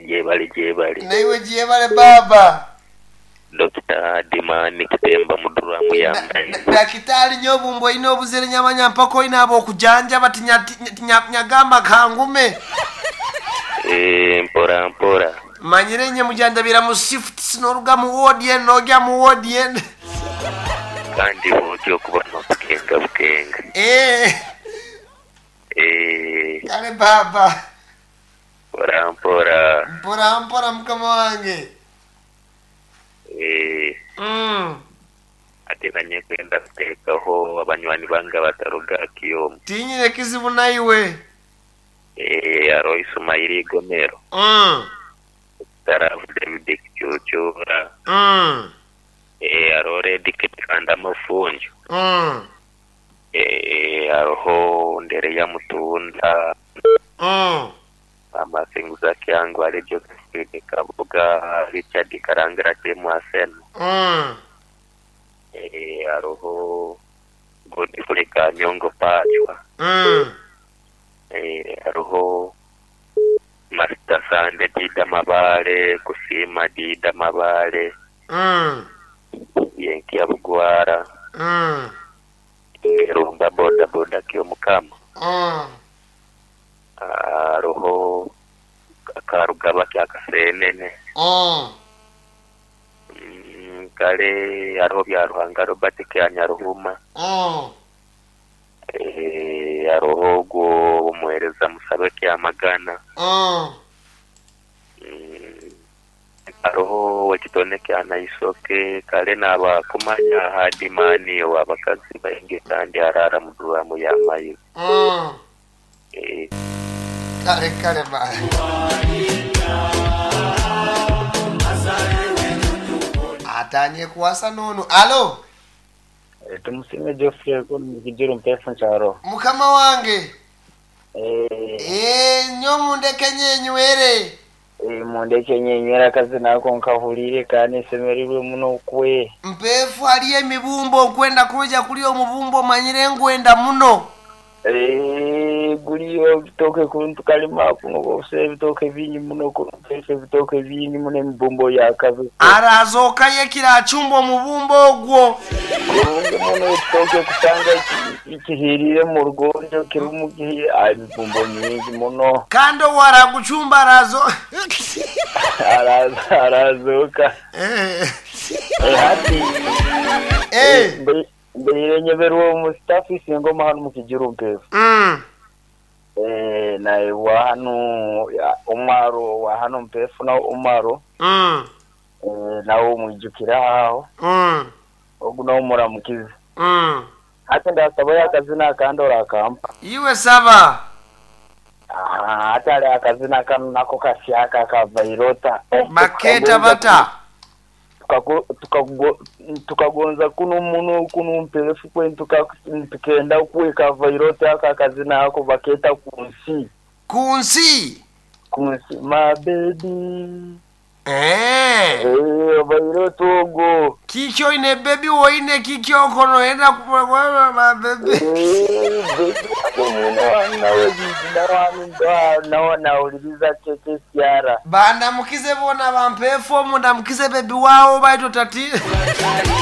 Gyebale gyebale. Naiwe gyebale bbaabba. Dokita Adimani Kitemba mu duramu ya maizi. Dakitaali nyo obumbu olina obuzire nyamanya mpaka olina ab'okujanjaba tinyagamba kangume. Eeh mpora mpora. Manyire nye mujanjabira mu shifts n'oruga mu woodi eno n'ogya mu woodi ende. Kandi bw'otyo okuba n'obukenga bukenga. Eeh. Eeh. Kale bbaabba. Mpora mpora. Mpora mpora mukama wange. Eeh. Ate nanye kwenda kuteekaho abanywani bange abataruga Kiomu. Tinyine kizibu naiwe. Eeh haroho Isumaili Igomero, Tarafu David Kicuucuura, eeh haroho Red Kikanda Mafunjo, eeh haroho Ndereya Mutunda, Amasinguza Kyangwali Josephine Kabuga, Richard Karangira Kyemwaseno, eeh haroho Godfrey Kanyongo Pachwa, eeh haroho Master Sande Dida Mabale, Kusiima Dida Mabale, Yenkia Bugwara, Erumba bodaboda Kyomukama, haroho Karugaba Kyakaseenene, kale haroho Byaruhanga Robert Kyanyaruhuma, haroho ogwo omuwereza Musabe Kyamagana, haroho owekitone kya Naisoke, kale nabakumanya Hardman owabakazi baingi kandi araara mu duramu ya maizi. Kale kale ba. Atandie kuwasa n'ono. Alo! Tumusiime Geoffrey Kigiro Mpeefu nkyaro. Mukama wange. Eeh nyo mundeke nyenywere. Mundeke nyenywere akazina ako nkahuriire kandi nsemereirwe muno kwe. Mpeefu haliyo emibumbo nkwenda kwija kulya omubumbo omanyire ngwenda muno. Guliyo ebitooke kunu tukalima kunu obusa ebitooke bingi muno kunu Mpeefu ebitooke bingi muno emibumbo yakabi. Arazookayo ekiro acumbe omubumbo ogwo. Kurungi muno ekitooke kusanga kihiriire mu rugonjo kirumu emibumbo mingi muno. Kandi owo aragucumba arazo. Arazooka. Hati mbaire nyeberwa omu staff Isingoma hanu mu Kijiru Mpeefu. Nawe hanu omwaro wa hanu Mpeefu nawe Omaro. Nawe omwijukire aho. Ogu nawe muramukize. Hati ndasabayo akazina akandi orakampa. Iwe saba. Hati hariho akazina kanu nako kashyaka aka Vairota. Baketa bata. Tukagonza kuno muno kuno Mpeefu kwe tukenda kweka Vairota aka akazina ako baketa kunsi. Kunsi? Kunsi my baby. Eeh. Vairota ogwo. Kiki oine baby woine kiki okono enda kuba my baby. Baby nawe nawuliriza KKCR. Bandamukize bona bampeefu omu ndamukize baby wawo baito tati.